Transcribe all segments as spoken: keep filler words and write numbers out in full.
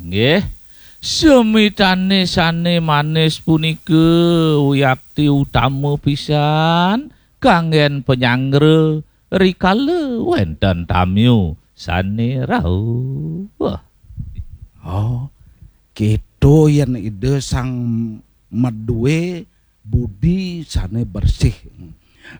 Nggih, semitane sane manis punika wiakti utama pisan kanggen panyanggra rikala wenten tamyu sane rauh. Oh, kita yen Ida Sang Madue budi sane bersih.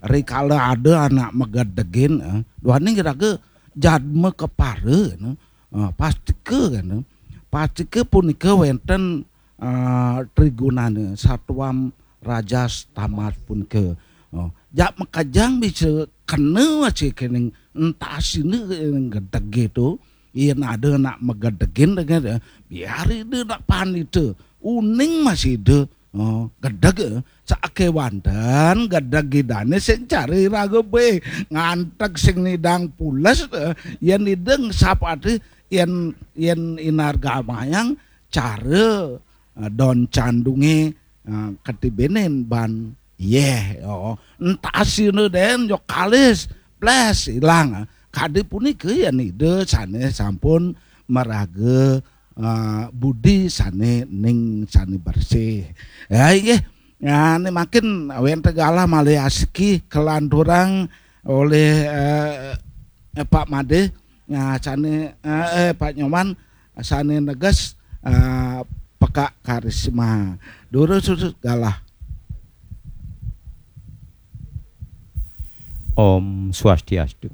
Rikala ada anak magedegin, eh, duaning raga jadma kepara, eh, pastika kan, eh, pastika punika wenten, eh, trigunane satwam rajas tamas punika. Oh, jak makejang bisa kena masih kening entasine kening gedege tu. Yen ada nak magedegin dengan, eh, biar Ida nak panita. Uning masih Ida, oh, gedeg, eh. Sakewanten gedeg Idane sing cari raga be nganteg sing nidang pules, eh. Yen Ida ngesap ati yen, yen inargamayang cara, eh, don candunge, eh, ketibenin ban yeh, oh. Entasine den jo kalis, blas, ilang. Kadi punika yen Ida sane sampun maraga, eh, budi sane ning sane bersih. Ya, inggih. Ya, ini makin wenten galah malih asiki kelanturang oleh, eh, eh, Pak Made. Ya, sane, eh, eh, Pak Nyoman, sane neges, eh, pekak karisma. Durus galah. Om Swastiastu.